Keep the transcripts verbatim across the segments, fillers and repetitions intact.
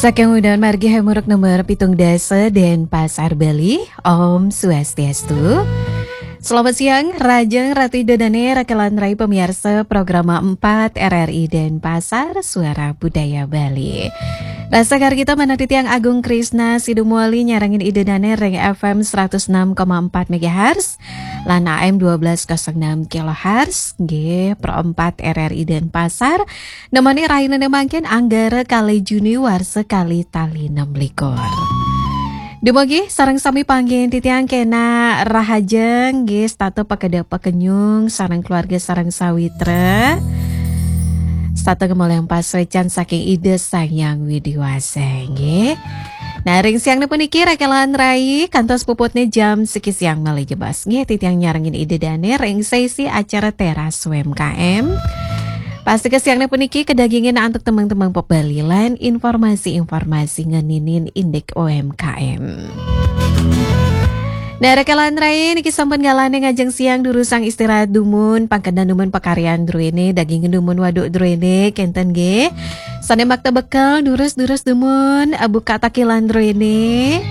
Saking Udan Margi Hemuruk nomor pitung dasa dan Pasar Bali. Om Swastiastu. Selamat siang, Rajeng Ratu Ida Dane, Rakelan Rai pemirsa program empat R R I Denpasar, Suara Budaya Bali. Rasa kar kita manah titiang Agung Krisna Sidumwali nyarengin Ida Dane ring F M seratus enam koma empat megahertz lan A M dua belas kosong enam kilohertz, nggih, Pro empat R R I Denpasar. Nemoni rainane mangkin Anggara kalih Juni warsa kalih tali enam likur. Dumugi sareng sami panggih titiang kena rahajeng nggih, setata pakedek pakenyung sareng keluarga sareng sawitra. Setata ngemolihang pasuecan saking Ida Sang Hyang Widi Wasa nggih. Nah, ring siang puniki Rakelan Rai kantos puputne jam siki siang malih jebos nggih, titiang nyarengin Ida Dane ring sesi acara Teras U M K M. Pasti ke siang puniki kedagingin antuk temang-temang pepeli lan informasi-informasi ngeninin indik U M K M. Nah, Rakelan Rai niki sampun galane ngajeng siang durusang istirahat dumun, pangkedan dumun pakaryan druene, daging dumun waduk druene, kenten nggih. Sane makta bekel, durus-durus dumun, eh, buka takilan druene.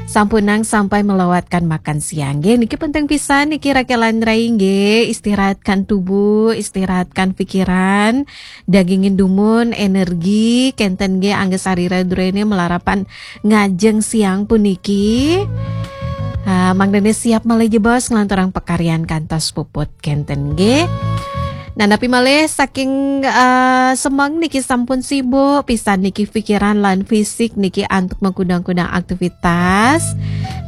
Sampunang sampai melewatkan makan siang. Nggih, niki penting pisan niki Rakelan Rai nggih, istirahatkan tubuh, istirahatkan pikiran, dagingin dumun, energi, kenten nggih angga sarira druene melarapan ngajeng siang puniki. Ah, mangdane siap malih jebos nglanturang pakaryan kantos puput kenten nggih. Nah, napi malih saking, ah, semeng niki sampun sibuk pisan niki pikiran lan fisik niki antuk mengkudang-kudang aktivitas.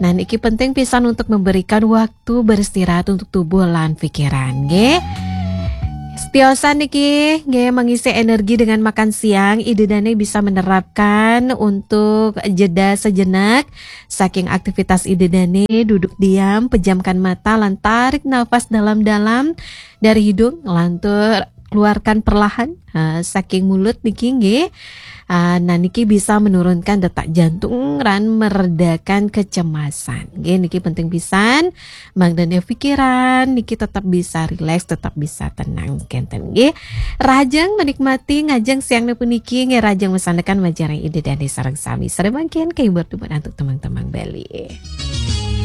Nah, niki penting pisan untuk memberikan waktu beristirahat untuk tubuh lan pikiran nggih. Setiosan niki nggih mengisi energi dengan makan siang, Ida Dane bisa menerapkan untuk jeda sejenak saking aktivitas Ida Dane, duduk diam, pejamkan mata, lan tarik nafas dalam-dalam dari hidung, lantur keluarkan perlahan, ha, saking mulut niki nggih. Ah, nah, niki bisa menurunkan detak jantung lan meredakan kecemasan. Nggih, niki penting pisan. Mangdane pikiran niki tetap bisa rileks, tetap bisa tenang kenten nggih. Rahajeng menikmati ngajeng siang puniki nggih, rahajeng masandekan majeng ring Ida Dane sareng sami. Sare mangkin kahibur dumun antuk temang-temang Bali.